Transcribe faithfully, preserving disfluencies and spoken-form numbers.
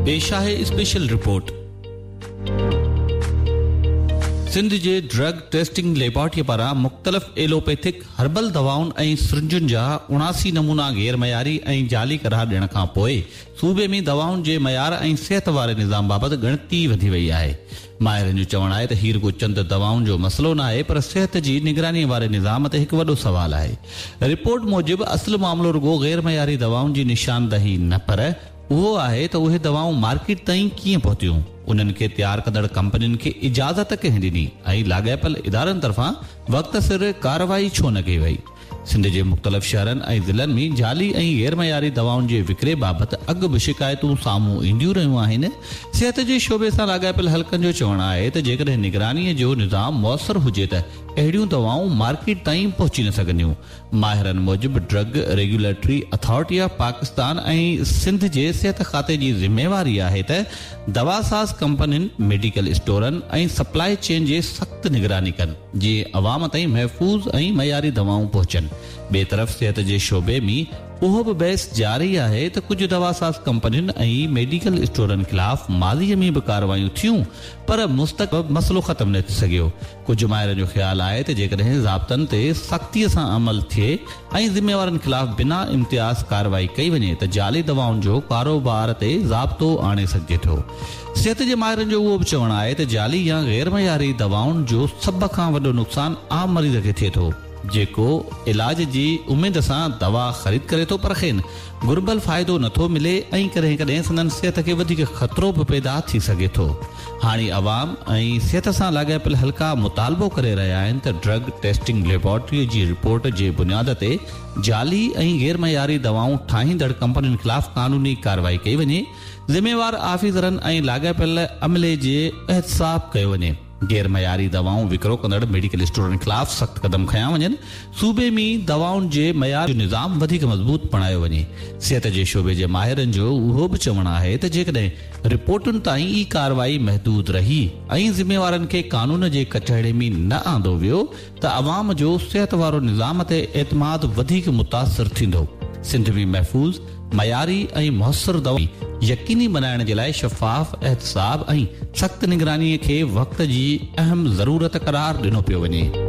پيش آهي special report. Sindh جي ڊرگ ٽيسٽنگ ليبارٽري پاران مختلف ايلوپيٿڪ هربل دوائن ۽ سرنجن جا اڻاسي نمونا غير معياري ۽ جعلي قرار ڏيڻ کان پوء صوبي ۾ دوائن جي معيار ۽ صحت واري نظام بابت ڳڻتي وڌي وئي آهي. ماهرن جو چوڻ آهي ته هي رڳو چند دوائن جو مسئلو ناهي پر صحت جي نگراني واري نظام تي هڪ وڏو سوال آهي. رپورٽ موجب اصل معاملو رڳو غير معياري دوائن جي نشاندهي نه پر اهو آهي ته اهي دوائون مارڪيٽ تائين ڪيئن پهتيون، انهن کي تيار ڪندڙ ڪمپنين کي اجازت ڪنهن ڏني ۽ لاڳاپيل ادارن طرفان وقت سر ڪارروائي ڇو نه ڪئي وئي. سنڌ جي مختلف شهرن ۽ ضلعن ۾ جعلي ۽ غير معياري دوائن جي وڪري بابت اڳ به شڪايتون سامهون اينديون رهيون آهن. صحت جي شعبي سان لاڳاپيل حلقن جو چوڻ آهي ته جيڪڏهن نگراني جو نظام موثر هجي ته اهڙيون دوائون مارڪيٽ تائين پهچي نه سگهنديون. ماهرن موجب drug regulatory authority of Pakistan ۽ Sindh جي صحت کاتي جي ذميواري آهي ته دواساز ڪمپنين، ميڊيڪل اسٽورن ۽ سپلائي چين جي سخت نگراني ڪن، جيئن عوام تائين محفوظ ۽ معياري دوائون پهچن. ٻئي طرف صحت جي شعبي ۾ اهو به بحث جاري آهي ته ڪجهه دواساز ڪمپنين ۽ ميڊيڪل اسٽورن خلاف ماضي ۾ به ڪارروايون ٿيون پر مستقل مسئلو ختم نه ٿي سگهيو. ڪجهه ماهرن جو خيال آهي ته جيڪڏهن ضابطن تي سختي سان عمل ٿئي ۽ ذميوارن خلاف بنا امتياز ڪارروائي ڪئي وڃي ته جعلي دوائن جو ڪاروبار تي ضابطو آڻي سگهجي ٿو. صحت جي ماهرن جو اهو به چوڻ آهي ته جعلي يا غير معياري دوائن جو سڀ کان وڏو نقصان عام مريض کي ٿئي ٿو، جيڪو علاج جي اميد سان دوا خريد ڪري ٿو پر کين گهربل فائدو نٿو ملي ۽ ڪڏهن ڪڏهن سندن صحت کي وڌيڪ خطرو به پيدا ٿي سگهي ٿو. هاڻي عوام ۽ صحت سان لاڳاپيل حلقا مطالبو ڪري رهيا آهن ته ڊرگ ٽيسٽنگ ليبارٽري جي رپورٽ جي بنياد تي جعلي ۽ غير معياري دوائون ٺاهيندڙ ڪمپنين خلاف قانوني ڪارروائي ڪئي وڃي، ذميوار آفيسرن ۽ لاڳاپيل عملي جي احتساب ڪيو وڃي، غير معياري دوائون وڪرو ڪندڙ ميڊيڪل اسٽورن خلاف سخت قدم کنيا وڃن، صوبي ۾ دوائن جي معيار جو نظام وڌيڪ مضبوط بڻايو وڃي. صحت جي شعبي جي ماهرن جو اهو به چوڻ آهي ته جيڪڏهن رپورٽن تائين ئي ڪارروائي محدود رهي ۽ ذميوارن کي قانون جي ڪٽهڙي ۾ نه آندو ويو ته عوام جو صحت وارو نظام تي اعتماد وڌيڪ متاثر ٿيندو. سنڌ ۾ محفوظ، معياري ۽ موثر دوا يقيني بڻائڻ جي لاء شفاف احتساب ۽ سخت نگراني کي وقت جي اهم ضرورت قرار ڏنو پيو وڃي.